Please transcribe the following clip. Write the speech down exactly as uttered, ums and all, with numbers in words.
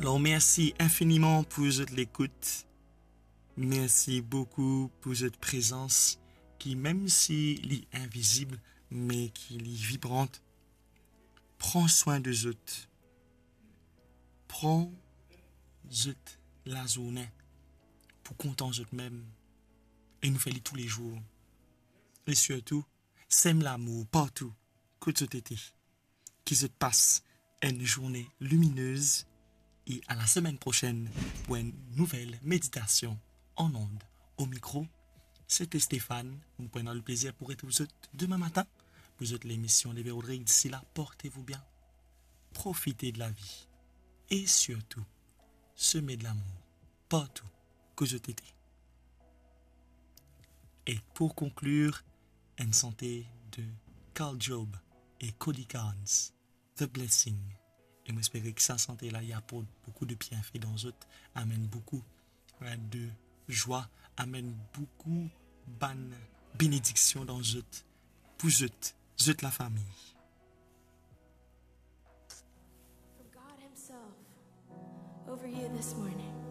Alor, mersi infiniman pou zot lekout. Mersi boukou pou zot prezans ki, mem si li invizib, me ki li vibran. Pran swin de zot. Pran zot lazourne pou kontan zot mem. E nou fer li toulezour. E sirtou, sem lamour partou kot zot ete. Ki zot pas enn zourne liminez e a la semenn prosenn pou enn nouvel meditasion an ond. O mikro, sete Stéphane. Mo pou ena leplezir pou retrouv zot demin matin pou zot lemision Leve Rodrig. D'ici là, portez-vous bien, profitez de la vie e sirtou, seme de lamour partou kot zot ete. E pou konklir, enn sante de Carl Job e Cody Carnes, The Blessing. E mo espere ki sa sante la, li aport boukou de bienfe dan zot, amenn boukou, eh, de zwa, amenn boukou bann benediksion dan zot, pou zot, zot lafami. From God himself over you this morning.